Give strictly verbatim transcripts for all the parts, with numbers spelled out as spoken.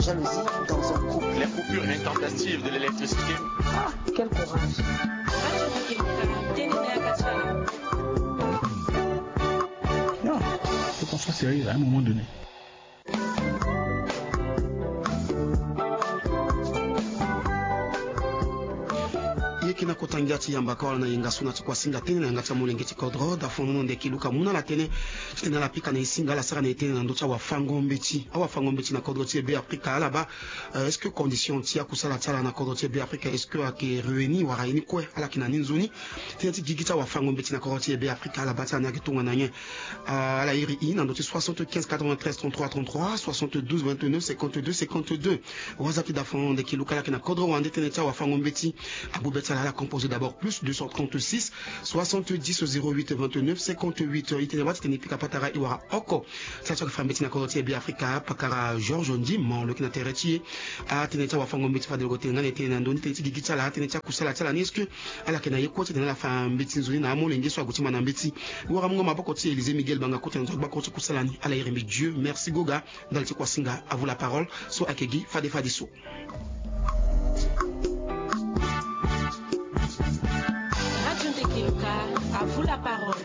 Jalousie dans un couple. Les coupures intempestives de l'électricité. Ah, quel courage. Non, faut qu'on soit sérieux à un moment donné. Ye kina kota ngia ti yamba kawala na yenga so na ti kuasinga tënë na yanga ti amolenge ti kodro dafono na ndeki luka mu na ala tënë. Ti tene ala pika na esinga ala sara na etene na ndö ti awafango-mbeti awafango-mbeti na kodro ti e Be Afrika ala baa, euh, est-ce que condition ti akusala ti ala na kodro ti e Be Afrika est-ce que ayeke réunir wala aye ni kue? Ala yeke na ni nzoni. Tënë ti gigi ti awafango-mbeti na kodro ti e Be Afrika ala baa ti ala ni ayeke tongana nyen? Ah, ala iri i na ndö ti soixante-quinze quatre-vingt-treize trente-trois trente-trois, soixante-douze vingt-neuf cinquante-deux cinquante-deux. WhatsApp ti dafono na ndeki luka ala yeke na kodro wande tënë ti awafango-mbeti. Agbu be ti ala ala composé d'abord plus deux cent trente-six soixante-dix zéro huit vingt-neuf cinquante-huit. I tene wâ ti tene i pika patara i wara oko. Sara ti ayeke fa mbeti na kodro ti e Be Afrika pakara Georges Ndimo lo yeke na tere ti e. Atënë ti awafango-mbeti fade lo yeke tene nga na e tene na ndö ni tënë ti gigi ti ala atënë ti akusala ti ala ni est-ce que ala yeke na ye kue ti tene ala fa mbeti nzoni na amolenge so ague ti ma na mbeti. Wara mungo maboko ti Élysée Miguel Banga kota na nzo agbakuru ti kusala ni ala iri mbi Dieu merci goga. Ndali ti kuasinga à vous la parole so ayeke gi fade fadeso. Radio Ndeke Luka, à vous la parole.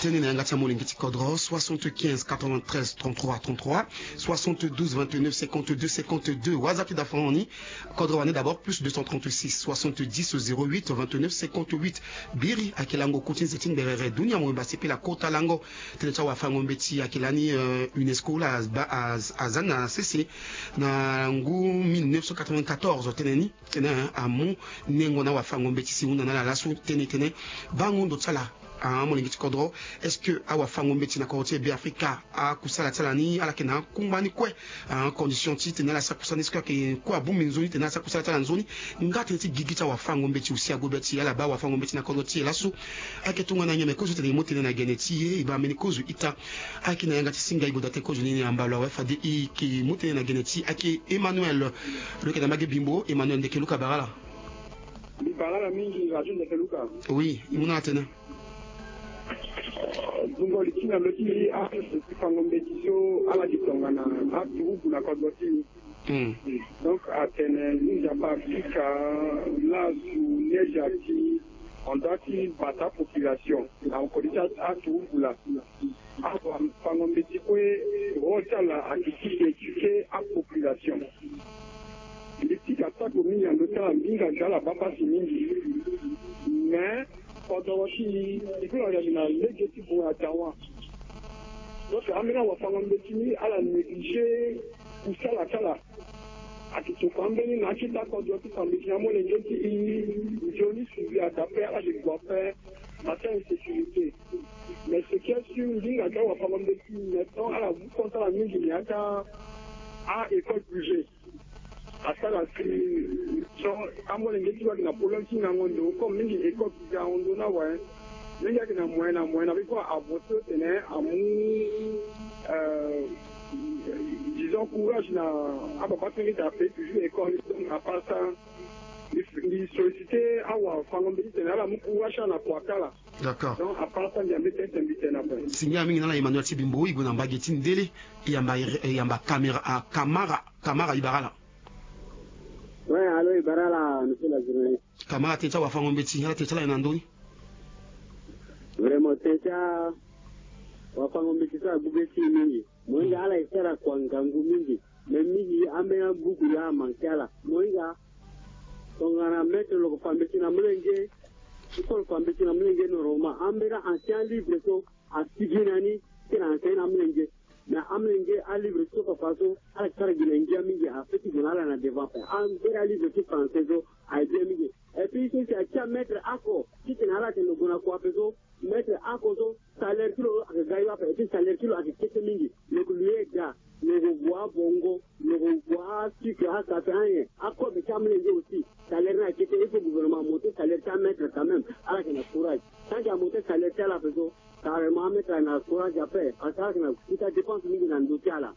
Tënë na yanga ti amolenge ti kodro soixante-quinze quatre-vingt-treize trente-trois trente-trois, soixante-douze vingt-neuf cinquante-deux cinquante-deux. WhatsApp ti dafono ni. Kodro wande d'abord plus deux cent trente-six soixante-dix zéro huit vingt-neuf cinquante-huit. Biri ayeke lango ku ti nze ti ngberere dunia mobimba sepela kota lango. Tënë ti awafango-mbeti ayeke lani, euh, UNESCO la aza na sese na ngu mille neuf cent quatre-vingt-quatorze tënë ni. Tënë amu nengo na awafango-mbeti si hunda na ala laso tënë tënë bango ndo ti ala. Ah, amolenge ti kodro, est-ce que awafango-mbeti na kodro ti e Be Afrika akusala ti ala ni ala yeke na akungba ni kue? Ah, condition ti tene ala sara kusala ni est-ce que ayeke kue abongbi nzoni tene ala sara kusala ti ala nzoni? Nga tënë ti gigi ti awafango-mbeti aussi agbu be ti ala baa awafango-mbeti na kodro ti e laso. Ayeke tongana nyen me kozo tene e mu tënë na gene ti e e baa mbeni kozo ita. Ayeke na yanga ti singa e goda tënë kozo ni na mbalo awe fade e yeke mu tënë na gene ti e ayeke Emmanuel. Lo yeke na mbage bimbo Emmanuel ndeke luka bara ala. Mbi bara ala mingi radio ndeke luka. Oui, e mu na ala tënë. Dungo li ti na lo ti afango-mbeti so ala yeke tongana aturugu na kodro ti e. Donc atene ni nzapa afrika lazu neja ti on doit ti bata population na kodi ti aturugu laa. Awafango-mbeti kue rôle ti ala ayeke ti éduquer apopulation. Mbi pika sako mingi na ndö ti ala mbinga ti ala baa pasi mingi. Mais kodoro ti e e kue na yali na lege ti gue na dawa. Donc ambeni awafango-mbeti ni ala négliger kusala ti ala. Ayeke tokua ambeni na akete akodro ti fa mbeti na amolenge ti e. Nzoni suivi ada ape ala yeke gue ape. Ata insécurité. Mais ce qui est sûr ndinga ti awafango-mbeti maintenant ala mu compte ala mingi na ya ti a école privée. Asara si so amolenge ti lo ayeke na problème ti ngango ndo comme mingi école privée ahon ndo ni awe. Mingi ayeke na moyen na moyen na be kue a avancer tene amu disons courage na ababa ti mbi ti ape toujours école. Donc à part ça mbi solliciter awafango-mbeti tene ala mu courage ti ala na kua ti ala. D'accord. Donc à part ça mbi ambeti tene mbi tene ape. Singa mingi na ala Emmanuel ti bimbo e gue na mbage ti ndele. E yamba e yamba kamera a kamara kamara e bara ala. Ouais, allô e bara ala monsieur la journaliste. Kamara tënë ti awafango-mbeti ala tënë ti ala aye na ndö ni? Vraiment tënë ti awafango-mbeti so agbu be ti e mingi. Mohinga ala e sara kua ngangu mingi. Mais mingi ambeni abuku laa amanke ala. Mohinga tongana maître lo yeke fa mbeti na molenge. Iko lo fa mbeti na molenge normalement ambeni ancien livre so asigi na ni. Ti tene aenseigne na amolenge. Mais amolenge alivre ti so papa so ala yeke sara gi na ngia mingi. Ape ti gue na ala na devant ape. Ambeni alivre ti français so aye bien mingi. Et puis so si atia maître ako ti tene ala tene lo gue na kua ape so maître ako so salaire ti lo ayeke ga yo ape. Et puis salaire ti lo ayeke kete mingi. Lo yeke loyer da, lo yeke gue abongo, lo yeke gue asucre, asafe, anyen. Akobe ti amolenge aussi salaire ni ayeke kete. Il faut gouvernement amonter salaire ti amaître quand même. Ala yeke na courage. Tant que amonter salaire ti ala ape so carrément amaître ayeke na courage ape parce que ala yeke na kota dépense mingi na ndö ti ala.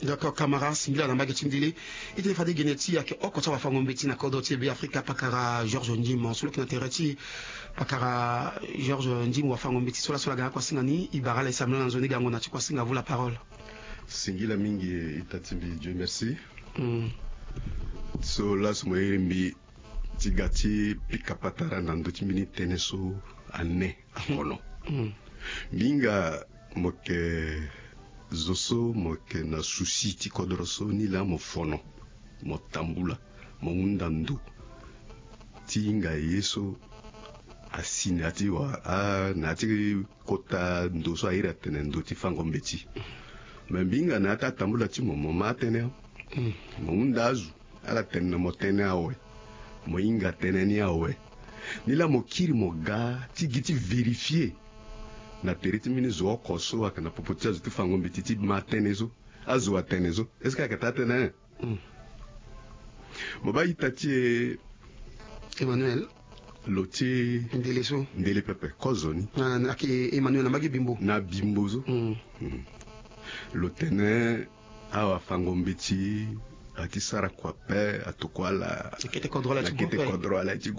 D'accord, kamara singila na mbage ti ndele. E tene fade gene ti e ayeke oko ti awafango-mbeti na kodro ti e Be Afrika pakara Georges Ndimo so lo yeke na tere ti e. Pakara Georges Ndimo wafango-mbeti so laso ala ga na kuasinga ni e bara ala e sambela na nzoni gango na ti kuasinga vous la parole. Singila mingi ita ti mbi Dieu merci. Mm. So laso mo iri mbi ti ga ti pika patara na ndö ti mbeni tënë so ane akono. Mm. Mbi hinga mo yeke zo so mo yeke na souci ti kodro so ni laa mo fono, mo tambula, mo hunda ndo ti hinga ye so asi na ya ti wa, a, na ya ti kota ndo so a iri atene ndo ti fango mbeti. Me mbi hinga na ya ti atambula ti mo, mo ma atënë. Mm. Mo hunda azo, ala tene na mo tënë awe. Mo hinga tënë ni awe. Ni laa mo kiri mo ga ti gi ti vérifier na tere ti mbeni zo oko so ayeke na popo ti azo ti fango mbeti ti ma tënë so. Azo atene so. Est-ce que ayeke taa tënë? Mm. Mo baa ita ti e Emmanuel. Lo ti ndele so. Ndele pepe, kozoni. Na, na, ayeke Emmanuel na mbage Bimbo. Na Bimbo so. Mm. Mm. Lo tene awa fango mbeti ati sara kua ape, atokua ala. Akete kodro ala ti gu ape. Akete kodro ala ti gu